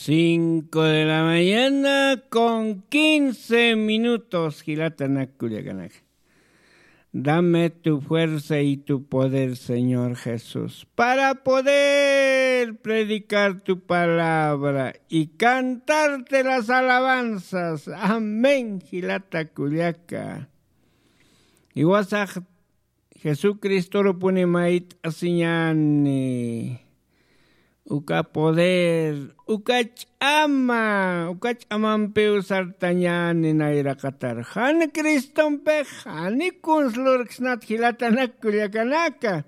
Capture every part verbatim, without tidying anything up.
Cinco de la mañana con quince minutos, jilatanak kullakanaka. Dame tu fuerza y tu poder, Señor Jesús, para poder predicar tu palabra y cantarte las alabanzas. Amén, jilata kullaka. Iwasax Jesucristoru puni mayt'asiñani. Uka poder, uka ch'ama, uka ch'amampiw sartañani nayraqatar. Jan Cristompix jani kunslurksnat, jilatanak kullakanaka.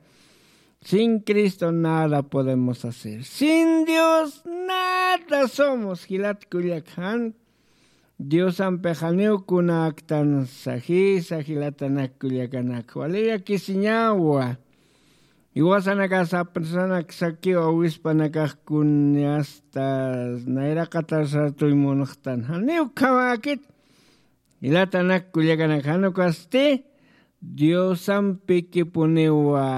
Sin Cristo nada podemos hacer. Sin Dios nada somos, jilat kullak. Jan Diosampix janiw kunaktan sajisa, jilatanak kullakanak. Wali llakisiñawa. Iwasanakax sapsanaksakiw awispanakax kuni asta nayraqatar sartuy munxtan. Janiw ukhamäkit. Jilatanak kullakanak, jan ukasti Diosampikipuniwa.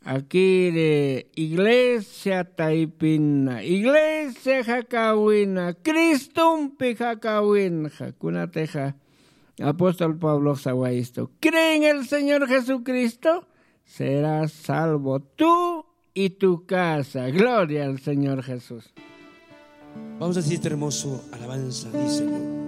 Akiri iglesia taypina, iglesia jakäwina, Cristompi jakäwinxa, kunatixa apóstol Pablox sawayistu: "Cree en el Señor Jesucristo, serás salvo tú y tu casa". Gloria al Señor Jesús. Vamos a decir este hermoso alabanza, dice.